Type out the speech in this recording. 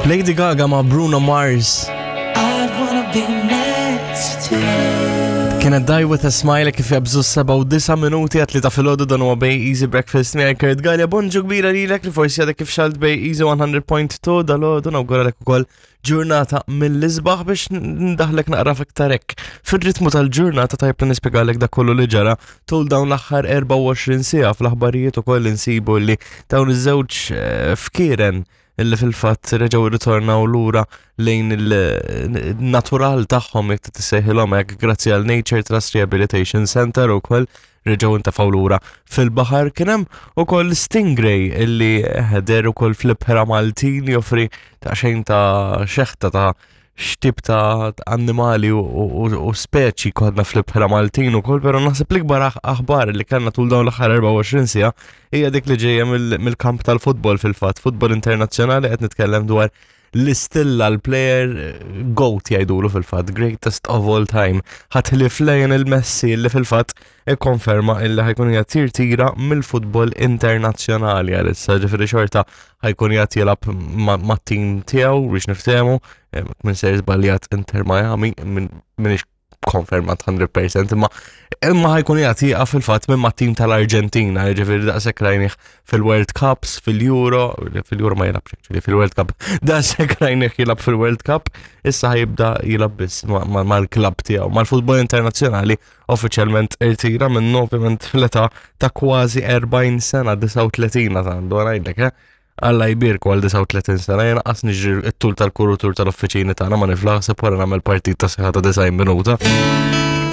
Lady Gaga ma' Bruno Mars. Kienet Die With A Smile kif jabżu 7 minuti għat li ta' filgħodu dan huwa Bay Easy Breakfast miegħi Kurt Gallia. Bonġu kbira lilek li forsi għadek kif xalt Bay Easy 100.2 dal-għodu nawguralek ukoll ġurnata mill-isbaħ biex ndaħlek naqra fiktar hekk. Fir-ritmu tal-ġurnata tajb li nispjegalek dak kollu li ġara tul dawn l-aħħar 24 siegħa fl-aħbarijiet ukoll insibu li dawn iż-żewġ eh, fkieren illi fil-fatt reġgħu rritornaw lura lejn il-natural tagħhom jekk tissejħilhom hekk grazzi għal Nature Trust Rehabilitation Center ukoll reġgħu ntefgħu lura fil-baħar. Kien hemm ukoll Stingray illi ħeder ukoll fl-ibħra Maltin joffri ta' xejn ta' xeħta ta' x'tip ta' annimali u speċi kodna fl-ibħra Maltin ukoll, però naħseb l-ikbar aħbar li kellna tul dawn l-aħħar 24 siegħa hija dik li ġejja mill-kamp tal-futbol fil-fatt, futbol internazzjonali qed nitkellem dwar l-istilla l-player eh, GOAT jgħidulu fil-fatt, greatest of all time, ħatħlif Lionel Messi li fil-fatt ikkonferma illi ħajkun qiegħed jirtira mill-futbol internazzjonali għalissa, ġifieri xorta ħajkun qiegħed jilgħab mat-tim tiegħu biex niftehmu, eh, minn ser żbaljat Inter Miami minn konfermat 100% imma imma ħajkun qiegħed jieqaf fil-fatt minn mat-tim tal-Arġentina, jiġifieri daqshekk rajnih fil-World Cups, fil-Euro, fil-Euro ma jilabx actually, fil-World Cup, daqshekk rajnih jilab fil-World Cup, issa ħajibda jilab biss mal-klabb tiegħu, mal-futbol internazzjonali uffiċjalment irtira minnu ovvjament fl-età ta' kważi 40 sena, 39 għandu ngħidlek, eh? Alla jbierku għal 39 sena, jena qas niġri t-tul tal-kurutur tal-uffiċini tagħna ma niflaħ se wara nagħmel partit ta' seħħa ta' 90 minuta.